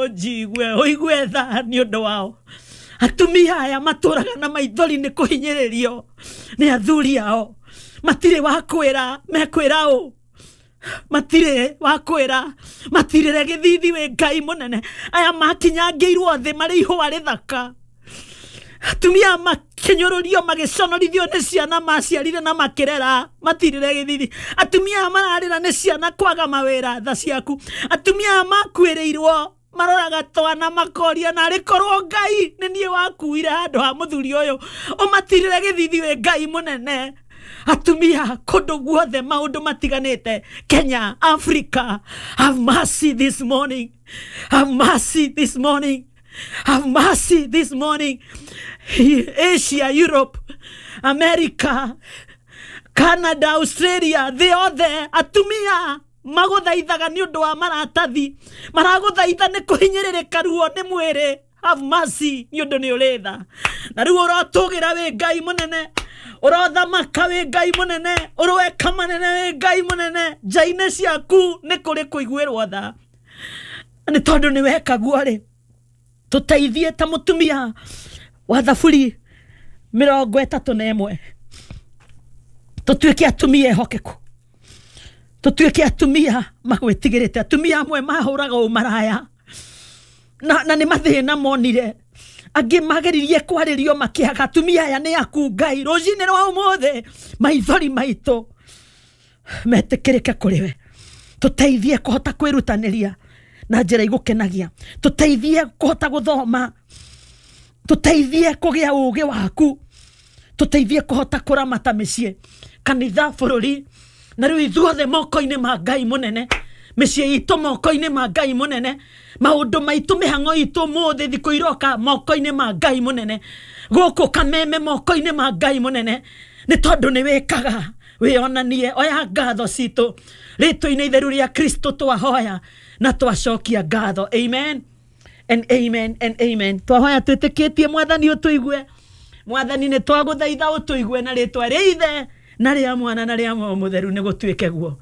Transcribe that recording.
Ũnjigue, ũigue tha nĩ ũndũ wao. Atumia aya matũraga na maithori nĩ kũhinyĩrĩrio nĩ athuri ao. Matirĩ wa kwĩra, mekwĩra ũ? Matirĩ wa kwĩra, matirĩre gĩthithi wĩ Ngai mũnene. Aya makinyangĩirwo thĩ marĩ ihũa rĩthaka. Atumia makĩnyũrũrio, magĩconorithio nĩ ciana maciarire na makĩrera, matirĩre gĩthithi. Atumia aya mararĩra nĩ ciana kwaga mawĩra, tha ciaku. Atumia aya makuĩrĩirwo maroraga twana makoria, narĩ korwo Ngai nĩ niĩ wakuire handũ ha mũthuri ũyũ, ũmatirĩre gĩthithi wĩ Ngai mũnene. Atumia kũndũ guothe maũndũ matiganĩte, Kenya, Africa, have mercy this morning, have mercy this morning, have mercy this morning. Asia, Europe, America, Canada, Australia, thĩ yothe, atumia magũthaithaga nĩ ũndũ wa maratathi, maragũthaitha nĩ kũhinyĩrĩrĩka ruo nĩ mwĩrĩ. Have mercy nĩ ũndũ nĩ ũrĩ tha. Na rĩu ũrotũgĩra wĩ Ngai mũnene, ũrothamaka wĩ Ngai mũnene, ũroeka manene wĩ Ngai mũnene. Nja-inĩ ciaku nĩ kũrĩ kũiguĩrwo tha, nĩ tondũ nĩ weka guo rĩ, tũteithie ta mũtumia wa Thaburi 31, tũtuĩke atumia ehokeku, tũtuĩke atumia magwĩtigĩrĩte, atumia amwe mahũraga ũmaraya na nĩ mathĩna monire, angĩ mageririe kwarĩrio makĩaga. Atumia aya nĩ aku Ngai, rũcinĩ rwa ũmũthĩ maithori maitũ metĩkĩrĩke kũrĩ we. Tũteithie kũhota kwĩrutanĩria na njĩra igũkenagia, tũteithie kũhota gũthoma, tũteithie kũgĩa ũgĩ waku, tũteithie kũhota kũramata mĩciĩ, kanitha, bũrũri, na rĩu ithuothe moko-inĩ ma Ngai mũnene, mĩciĩ itũ moko-inĩ ma Ngai mũnene, maũndũ maitũ, mĩhang'o itũ mũthĩ, thikũ iroka moko-inĩ ma Ngai mũnene, gũkũ Kameme moko-inĩ ma Ngai mũnene, nĩ tondũ nĩ wĩkaga wĩonanie. Oya ngatho citũ rĩtwa-inĩ itheru rĩa Kristo twahoya na twacokia ngatho. Amen and amen and amen. Twahoya twĩtĩkĩtie Mwathani ũtũigue. Mwathani, nĩ twagũthaitha ũtũigue na rĩtwa rĩa Ithe na rĩa Mwana na rĩa Muoyo Mũtheru, nĩ gũtuĩke guo.